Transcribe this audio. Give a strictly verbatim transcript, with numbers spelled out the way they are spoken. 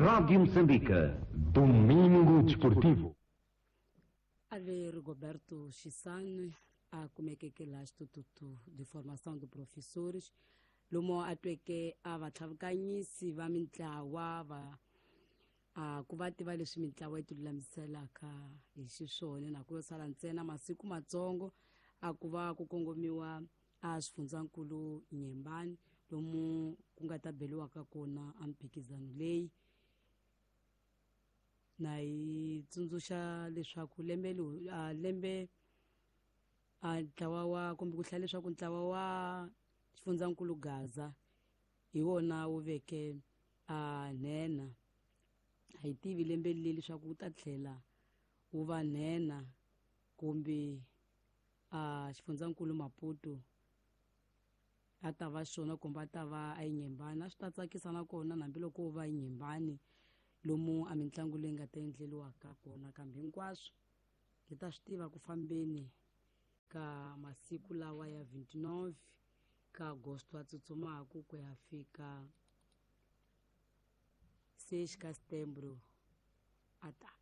Rádio Moçambique. Domingo Desportivo. Ali Rigoberto Chissano a kumekeke laha Xitututu de formação de professores lomu a tweke a vatlhavukanyisi va mintlawa va a ku va tiva leswi mintlawa yi tilulamiselaka hi xiswona na ku yo sala ntsena masiku matsongo a ku va ku kongomiwa a xifundzankulu Nyembani lomu ku nga ta beliwaka kona a mphikizano leyi na yi tsundzuxa leswaku lembe lowu a lembe a ntlawa wa kumbe ku hlaya leswaku ntlawa wa xifundzankulu Gaza hi wona wu veke a nhenha a hi tivi lembe leri leswaku wu ta tlhela wu va nhenha kumbe a xifundzankulu Maputo a ta va xona kumbe a ta va a Nyembani a swi ta tsakisa nakona hambiloko wo va Nyembani lomu a mitlangu leyi nga ta endleriwaka kona kambe hinkwaswo hi ta swi tiva ku fambeni ka masiku lawa ya vingt-neuf ka agosto a tsutsumaku ku ya fika seis ka setembro a taka.